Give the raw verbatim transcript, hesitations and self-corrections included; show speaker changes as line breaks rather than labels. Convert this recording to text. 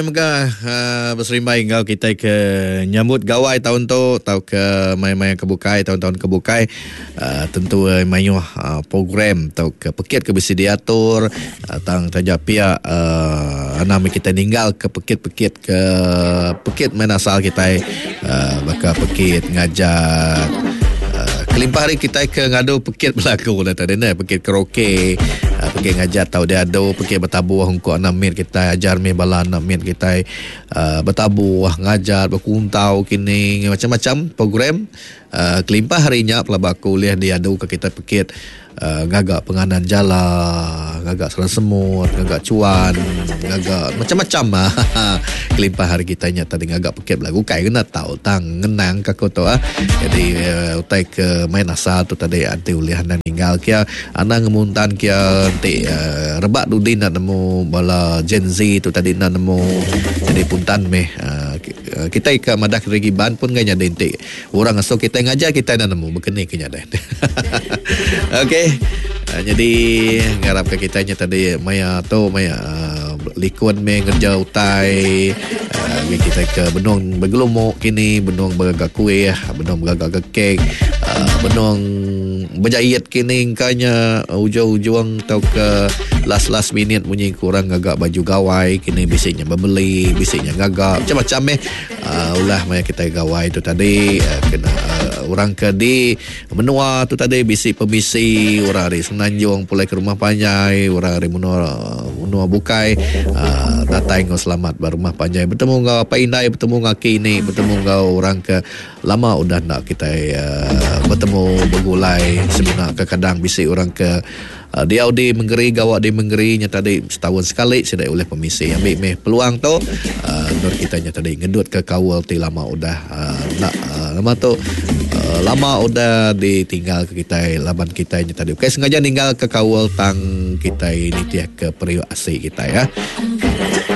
Mega uh, beserimbai enggau kita ke nyambut gawai tahun tu atau ke maya-maya ke bukai, tahun-tahun ke bukai, uh, tentu uh, mayuh uh, program atau ke pekit ke bisi diatur uh, tang taja pia uh, anam kita ninggal ke pekit-pekit ke pekit main asal kita uh, baka pekit ngajar uh, kelimpah hari kita ke ngadu pekit berlaku dah tadi ne, pekit karaoke, uh, pekit ngajar tau dia adu pekit bertabuh untuk anak mit kita ajar mi bala anak mit kita uh, bertabuh ngajar berkuntau kini macam-macam program uh, kelimpah harinya pelaba kuliah diadu ke kita pekit uh, ngagak penganan jala, ngagak serang semut, ngagak cuan, ngagak macam-macam ah. Kelimpah hari kita nya tadi ngagak pekit belagu kai kena tau tang ngenang ka aku tu ah. Jadi uh, utai ke main asal tu tadi anti ulih anda ninggal kia anda ngemuntan kia nanti uh, rebak dudi nak nemu bala Gen Z tu tadi nak nemu. Jadi puntan meh uh, kita ke madah ke ban pun gak nyada inti orang asal kita ngajar kita nak nemu bekeni ke nyada. Okey. Uh, jadi ngarap ke kita nya tadi maya tu maya uh, likun me ngerja utai uh, kita ke benung bergelumuk kini, benung bergagak kuih, benung bergagak kek, uh, benung berjahit kini kanya ujung-ujung atau ke last last minute bunyi kurang gagak baju gawai kini bisiknya berbeli, bisiknya gagak macam-macam eh uh, ulah maya kita gawai tu tadi uh, kena uh, orang ke di menua tu tadi bisik permisi orang hari Semenanjung pulai ke rumah panjai, orang hari menua menua bukai uh, datang ngau selamat ba rumah panjai bertemu ngau apa indai, bertemu ngau kini, bertemu ngau orang ke lama udah nak kita uh, bertemu bergulai sebenarnya kadang bisik orang ke uh, dia di menggeri gawak di menggerinya tadi setahun sekali sudah oleh permisi ambil meh peluang tu uh, nur kita nya tadi ngedut ke kawal ti lama udah uh, nak uh, lama tu uh, lama udah ditinggal ke kita laban kita nya tadi okey sengaja ninggal ke kawal tang kita ini tiap ke periuk asik kita ya.